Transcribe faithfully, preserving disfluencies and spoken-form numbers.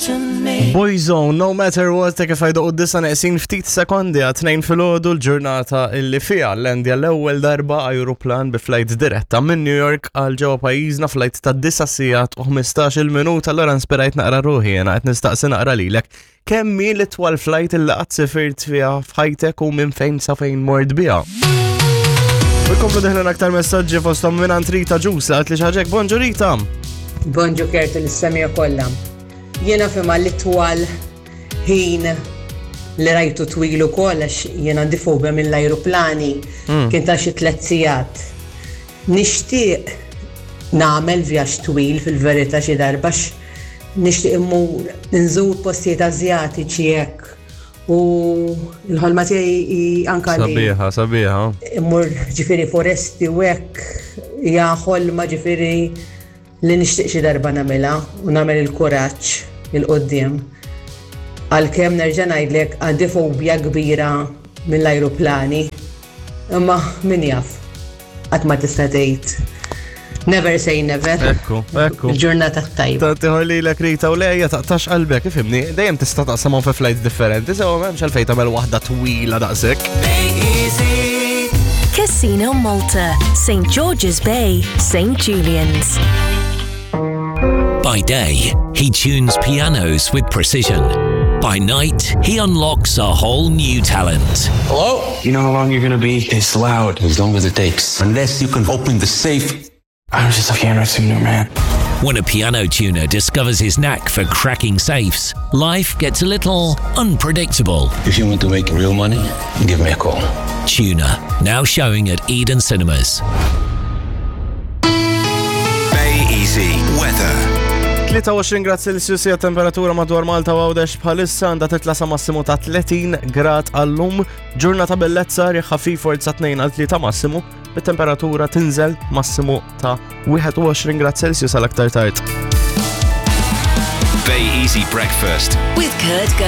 Boyzone, no matter what, ta' kif għajdu d-disa neqsin ftit sekondi għat-tnejn filgħodu, l-ġurnata illi fija lendja l-ewwel darba ajruplan bi flight diretta minn New York għal ġewwa pajjiżna, flight ta' disa' sigħat u ħmistax-il minuta. Allura inspirajt naqra ruħi jena qed nistaqsi naqra lilek. Kemm hi l-itwal flight illi qatt sifirt fiha f'ħajtek u minn fejn sa fejn mort biha? U jkomplu deħlin aktar messaġġi, fosthom minn Rita Ġusa għat li xaġek. Bonġu, Rita. Bonġu, Kurt, l-semija kollha. Jiena fima l-itwal ħin li rajtu twil ukoll, għax jiena għandi fobja mill-ajruplani, kien ta' xi tliet sigħat. Nixtieq nagħmel vjaġġ twil fil-verità xi darba, għax nixtieq immur nżur postijiet Azjatiċi hekk. U l-ħolma tiegħi hi anka li Sabiħa, sabiħa. immur ġifieri foresti u hekk, hija ħolma ġifieri li nixtieq xi darba nagħmilha u nagħmel il-kuraġġ 'il quddiem. Għalkemm nerġa' ngħidlek għandi fobja kbira mill-ajruplani. Imma min jaf, qatt ma tista' tgħid. Never say never. Ekku, ekku. Il-ġurnata tajba. Ta' tiħor li l Rita, u lejja taqtax qalbek, ifhimni, dejjem tista' taqsamhom fi flights differenti, sew m'hemmx għalfejn tagħmel waħda twila daqshekk. Casino Malta, Saint George's Bay, Saint Julian's. By day, he tunes pianos with precision. By night, he unlocks a whole new talent. Hello? You know how long you're gonna be? It's loud. As long as it takes. Unless you can open the safe. I'm just a piano tuner, man. When a piano tuner discovers his knack for cracking safes, life gets a little unpredictable. If you want to make real money, give me a call. Tuner, now showing at Eden Cinemas. Bay Easy Weather. tlieta u għoxrin grad Celsius hija temperatura madwar Malta u Għawdex bħalissa, għandha titla sa massimu ta' tletin grad għallum. Ġurnata bellezza, riħ ħafif forza tnejn għal tlieta massimu, bit-temperatura tinżel massimu ta' wieħed u għoxrin grad Celsius għal aktar tard. Bay Easy Breakfast. With Kurt